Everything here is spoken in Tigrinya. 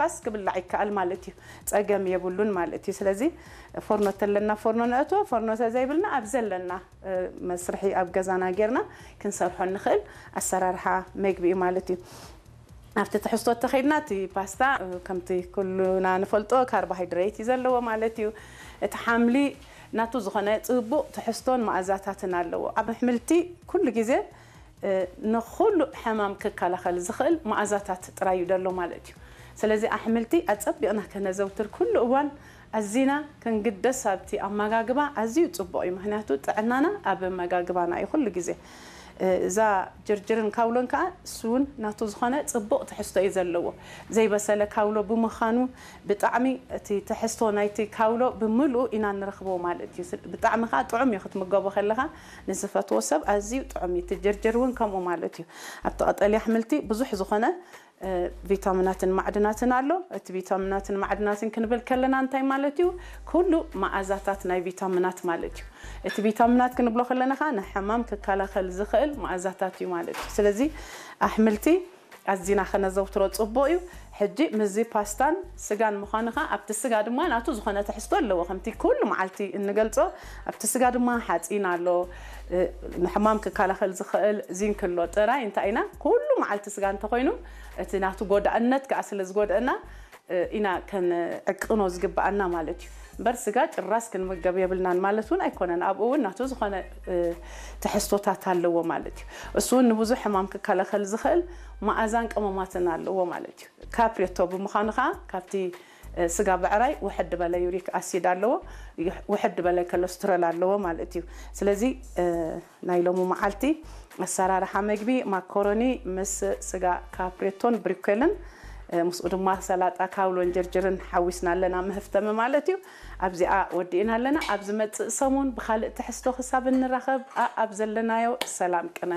ፋስ ክብላዕ ይከኣል ማለት እዩ። ጸገም የብሉን ማለት እዩ። ስለዚ ፎርኖ ተለና ፎርኖ ነእትዎ፣ ፎርኖ ተዘይብልና ኣብ ዘለና መስርሒ ኣብ ገዛና ጌርና ክንሰርሖ ንኽእል ኣሰራርሓ መግቢ እዩ ማለት እዩ። ኣብቲ ትሕዝቶ ተኸይድና እቲ ፓስታ ከምቲ ኩሉና ንፈልጦ ካርቦሃይድሬት እዩ ዘለዎ ማለት እዩ። እቲ ሓምሊ ናቱ ዝኾነ ጽቡቕ ትሕዝቶን መኣዛታትን ኣለዎ። ኣብ ኣሕምልቲ ኩሉ ግዜ ንኹሉ ሕማም ክከላኸል ዝኽእል መኣዛታት ጥራይ እዩ ደሎ ማለት እዩ። ስለዚ ኣሕምልቲ ኣጸቢቕና ከነዘውትር ኩሉ እዋን ኣዚና ክንግደስ ኣብቲ ኣመጋግባ ኣዝዩ ጽቡቕ እዩ። ምኽንያቱ ጥዕናና ኣብ ኣመጋግባና እዩ ኩሉ ግዜ። እዛ ጅርጅርን ካውሎን ከዓ እሱ እውን ናቱ ዝኾነ ጽቡቕ ትሕዝቶ እዩ ዘለዎ። ዘይበሰለ ካውሎ ብምዃኑ ብጣዕሚ እቲ ትሕዝቶ ናይቲ ካውሎ ብምልኡ ኢና ንረኽቦ ማለት እዩ። ስል- ብጣዕሚ ከዓ ጥዑም እዩ ክትምገቦ ከለኻ ንዝፈትዎ ሰብ ኣዝዩ ጥዑም እዩ። እቲ ጅርጅር እውን ከምኡ ማለት እዩ። ኣብቲ ቀጠልያ ኣሕምልቲ ብዙሕ ዝኾነ እ፣ ቪታሚናትን ማዕድናትን ኣሎ። እቲ ቪታሚናትን ማዕድናትን ክንብል ከለና እንታይ ማለት እዩ? ኩሉ መኣዛታት ናይ ቪታሚናት ማለት እዩ። እቲ ቪታሚናት ክንብሎ ከለና ኸዓ ንሕማም ክከላኸል ዝኽእል መኣዛታት እዩ ማለት እዩ። ስለዚ ኣሕምልቲ ኣዚና ከነዘውትሮ ጽቡቕ እዩ። ሕጂ ምስዚ ፓስታን ስጋን ምዃኑ ኸዓ ኣብቲ ስጋ ድማ ናቱ ዝኾነ ትሕዝቶ ኣለዎ። ከምቲ ኩሉ መዓልቲ እንገልጾ ኣብቲ ስጋ ድማ ሓጺን ኣሎ። እ፣ ንሕማም ክከላኸል ዝኽእል ዚንክ ኣሎ። ጥራይ እንታይ ኢና ኩሉ መዓልቲ ስጋ እንተኾይኑ እቲ ናቱ ጎዳእነት ከዓ ስለ ዝጎድአና እ፣ ኢና ከነዕቅኖ ዝግብኣና ማለት እዩ። እምበር ስጋ ጭራስ ክንምገብ የብልናን ማለት እውን ኣይኮነን። ኣብኡ እውን ናቱ ዝኾነ እ፣ ትሕዝቶታት ኣለዎ ማለት እዩ። እሱ እውን ንብዙሕ ሕማም ክከላኸል ዝኽእል መኣዛን ቀመማትን ኣለዎ ማለት እዩ። ካፕሬቶ ብምዃኑ ከዓ ካብቲ እ፣ ስጋ ብዕራይ ውሕድ በለ ዩሪክ ኣሲድ ኣለዎ፣ ይሕ- ውሕድ በለ ኮለስትሮል ኣለዎ ማለት እዩ። ስለዚ እ፣ ናይ ሎሚ መዓልቲ ኣሰራርሓ መግቢ ማኮሮኒ ምስ ስጋ ካፕሬቶን ብሪኮልን እ፣ ምስኡ ድማ ሰላጣ ካውሎን ጅርጅርን ሓዊስና ኣለና መህፍተሚ ማለት እዩ። ኣብዚኣ ወዲእና ኣለና። ኣብ ዝመጽእ ሰሙን ብኻልእ ትሕዝቶ ክሳብ እንራኸብ ኣብ ዘለናዮ ሰላም ቅነ።